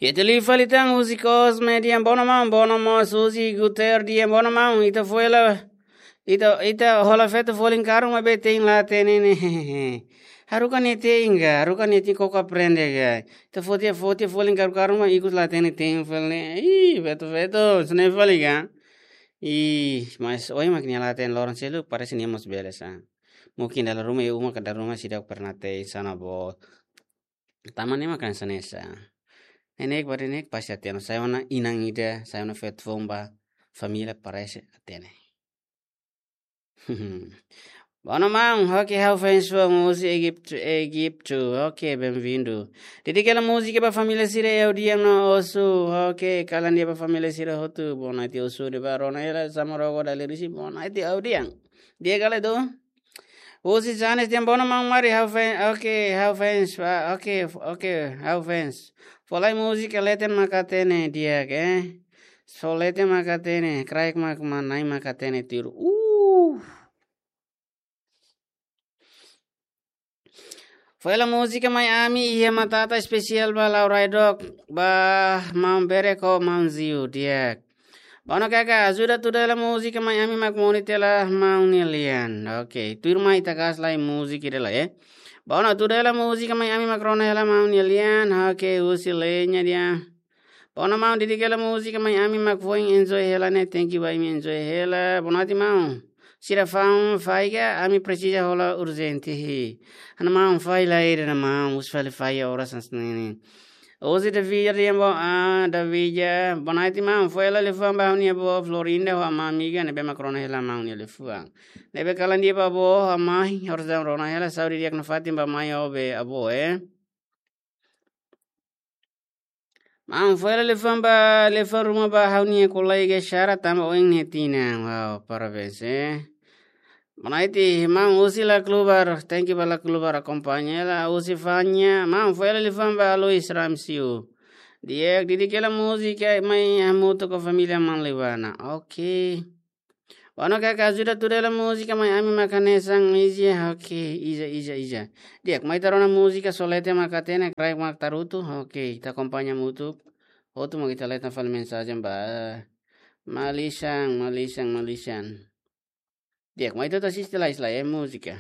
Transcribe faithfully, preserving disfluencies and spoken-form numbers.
Ita liu fali tan husi Cosme dehan: "Bono maun, bono mós husi Guter dehan: 'Bono maun, ita fó hela, ita, ita hola feto folin karuma be tein la hatene ne'e. Haruka nia tein ka, haruka nia tein koko aprende ka. Ita fó tiha, fó tiha folin karu-karuma ikus la hatene tein fali ne'e.'" Ih, feto-feto, sene fali ka. Ih, mas ohin mak nia la hatene, loron seluk parese nia mós bele sa. Mungkin dala ruma iha uma ka dala ruma seidauk pernah tein, sana bo. Tanba ne'e mak hanesan ne'e sa. Neineik ba neineik pasti hatene. Sai ona inan ida, sai ona feto foun ba família parese hatene. Bono maun, oke, ha'u fans foun husi Egiptu, Egiptu. Oke, bem-vindo. Di'ak, hela múzika ba família sira Eudian no Osu. Oke, kalan de'it ba família sira hotu. Boa noite, Osu, de'it ba rona hela Samorogo Dalirisi. Boa noite, Eudian. Di'ak, hela tu. Husi Janes dehan: "Bono maun, mari ha'u fans." Oke, ha'u fans. Ah, oke, oke, ha'u fans. Fó lai múzika leten mak hatene di'ak, eh. Só leten mak hatene, kraik mak manai mak hatene tiru. Uh. Fó hela múzika Mai Ami iha matata espesiál ba Lau Raidok, ba maun Bereko, maun Ziu, di'ak. Bono kaka, ajuda tuda hela múzika Mai Ami mak moni tiha hela maun nia lian. Oke, tuirmai ita gas lai múzika ida lai, eh. Bono, tuda hela múzika Mai Ami mak rona hela maun nia lian. Oke, husi Lenya dehan: "Bono maun, di'ak hela múzika Mai Ami mak foin enjoy hela ne'e, thank you ba imi enjoy hela." Bono ati maun. Sira fa'an faiga, ami presiza hola urjente hi. Ha'u-nia maun fai lai ida-ne'e maun, husi fali fai oras hanesan ne'e. Husi Davija dehan bo, ah, Davija. Boa noite maun, fó hela liafuan ba ha'u-nia avó Florinda ho amá amiga, ne'ebé mak rona hela maun nia liafuan. Ne'ebé kalan de'it ba avó ho amá, orsida rona hela, saúde di'ak nafatin ba mai ho be avó, eh. Maun, fó hela liafuan ba, liafuan ruma ba ha'u-nia kolega Sara tanba oin nia tinan. Wow, parabéns, eh. Boa noite, maun, husi Laclubar, thank you ba Laclubar akompaña hela. Husi Fanya, maun, fó hela liafuan ba Alois Ramsio. Di'ak, di'ak hela múzika Mai Hamutuk ho família Manlibana. Oke. Bono kaka, ajuda tuda hela múzika Mai Ami mak hanesan iza, oke, iza, iza, iza. Di'ak, mai ita rona múzika, só leten mak hatene, kraik mak tarutu, oke, ita akompaña hamutuk, hotu mak ita leten fali mensajen ba. Malisan, malisan, malisan. Di'ak, mai ita atu asiste lai, lai, eh, múzika.